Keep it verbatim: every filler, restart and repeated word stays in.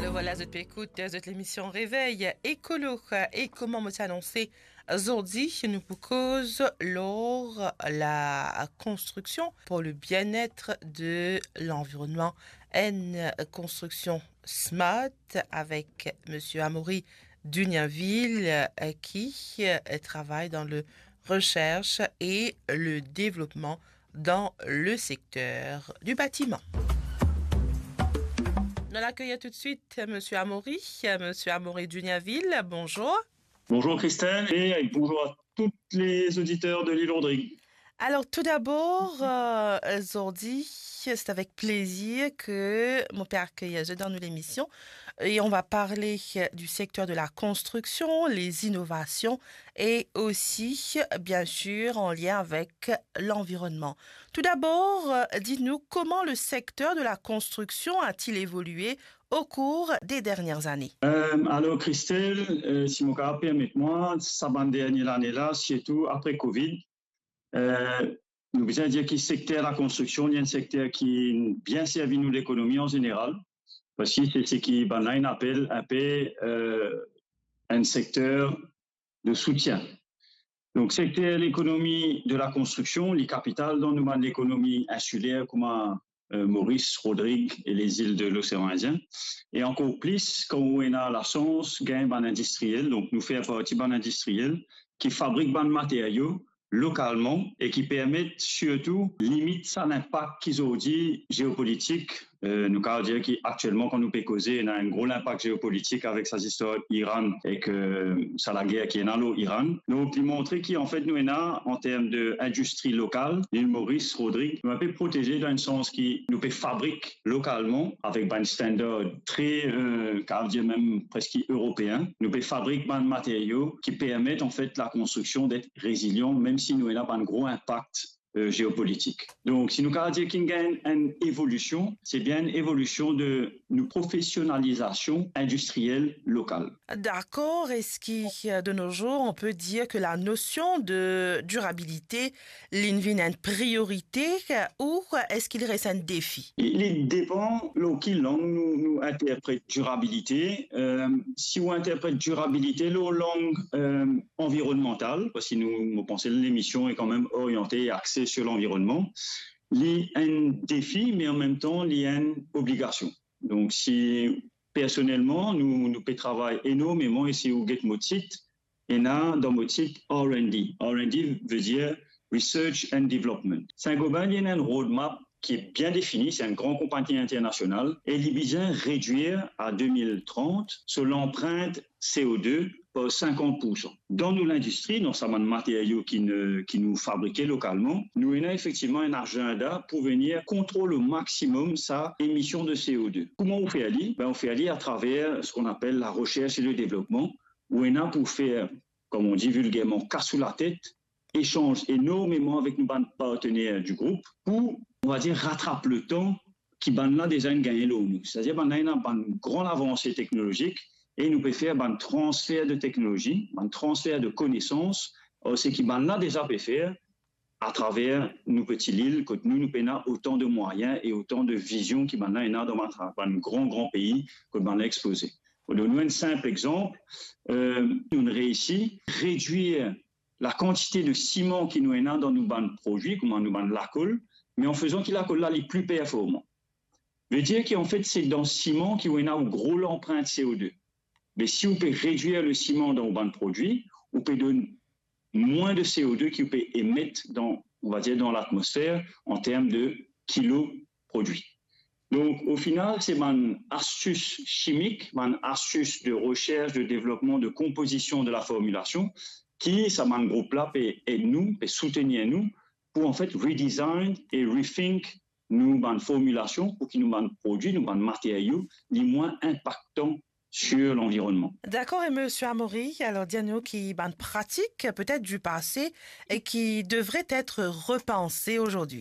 Vwala, zot pe ekout, zot lemision Revey Ekolo. E kouma mo ti anonse, zordi nou pou koz lor la konstriksion pour le bien-être de l'environnement, enn konstriksion smart avek Msye Amaury Duniaville, euh, ki, euh, travay dan le recherche et le développement dans le secteur du bâtiment. Nou al akeyir toudsuit Msye Amaury, Msye Amaury Duniaville, bonjour. Bonjour Christelle et bonjour à tous les auditeurs de l'île Rodrigue. Alors, tout d'abord, euh, zordi, c'est avec plaisir que mo pe akeyir zot dan nou lemision. Et on va parler du secteur de la construction, les innovations et aussi, bien sûr, en lien avec l'environnement. Tout d'abord, euh, dites-nous comment le secteur de la construction a-t-il évolué au cours des dernières années ? Euh, alors, Christelle, euh, si mo kapav permet mwa, sa bann dernie lane la, sirtou apre Covid, euh, nou bizin dir ki sekter lakonstriksion, li enn sekter ki bien servi nou lekonomi an zeneral, parski se seki bann la inn apel inpe, euh, enn sekter de soutien. Donk, sekter lekonomi de lakonstriksion, li kapital dan nou bann lekonomi insiler kouma, euh, Moris, Rodrig e lezil de Losean Indien. E ankor plis, kan ou ena lasans gagn bann indistriel, donk nou fer parti bann indistriel ki fabrik bann materio lokalman e ki permet sirtou limit sa linpak ki zordi geopolitik. Euh, nou kapav dir ki aktielman, kan nou pe koze, ena enn gro linpak geopolitik avek sa zistwar Iran ek, euh, sa lager ki ena lor Iran. Donk, li montre ki, anfet, nou ena, an term de indistri lokal, lil Moris, Rodrig, nou inpe proteze dan enn sans ki nou pe fabrik lokalman avek bann standard tre, euh, kapav dir mem preski eropeen. Nou pe fabrik bann materio ki permet, anfet, lakonstriksion det rezilian, mem si nou ena bann gro inpak, euh, geopolitik. Donk, si nou kapav dir ki inn gagn enn evolision, se bien enn evolision de nou profesionalizasion indistriel lokal. D'accord. Est-ce que, euh, de nos jours, on peut dire que la notion de durabilité, li vinn enn priorite, euh, ou est-ce qu'il reste un défi ? Li, li depan lor ki lang nou, nou interpret dirabilite. Euh, si ou interpret dirabilite lor lang, euh, anvironmantal, parski nou, mo panse lemision est quand même orientée et axée sur l'environnement, li enn defi, me an mem tan, li enn obligasion. Donk, si personelman, nou, nou pe travay enormeman, e si ou get mo tit, ena dan mo tit R and D. R and D ve dir Research and Development. Saint-Gobain, li ena enn roadmap ki bien defini, se enn gran konpagni internasional, e li bizin redwir a de mil trant so lanprint C O deux par sinkant poursan. Dan nou lindistri, dan sa bann materio ki ne, ki nou fabrike lokalman, nou ena efektivman enn azenda pou vinn kontrol o maximum sa emision de C O deux. Kouma ou fer li ? Ben, ou fer li atraver ce qu'on appelle la recherche et le développement, ou ena pou fer, comme on dit vulgairement, kas ou latet, echanz enormeman avek nou bann partener di group pou, on va dire, ratrap letan ki bann la deza inn gagne lor nou. Setadir bann la ena bann gran lavanse teknolozik e nou pe fer bann transfer de teknolozi, bann transfer de konesans, ar seki bann la deza pe fer atraver nou peti lil, kot nou, nou pena otan de mwayin e otan de vizion ki bann la ena dan bann, bann gran, gran pei kot bann la expoze. Mo donn nou enn sinp exanp, euh, nou reisi redwir lakantite de siman ki nou ena dan nou bann prodwi, kouma nou bann lakol, me an fezan ki lakol la li pli performan. Ve dir ki, anfet, se dan siman ki ou ena ou gro lanprint C O deux. Me si ou pe redwir le siman dan ou bann prodwi, ou pe donn mwin de C O deux ki ou pe emet dan, on va dir, dan latmosfer an term de kilo prodwi. Donk, o final, se bann astis simik, bann astis de recherche, de développement, de composition de la formulation, ki sa bann group la pe ed nou, pe soutenir nou, pou, anfet, redesign e rethink nou bann formulasion, pou ki nou bann prodwi, nou bann materio, li mwin inpaktan sur l'environnement. D'accord, et Monsieur Amaury, alors dis-nous ki bann pratik, peut-être du passé, et qui devraient être repensées aujourd'hui.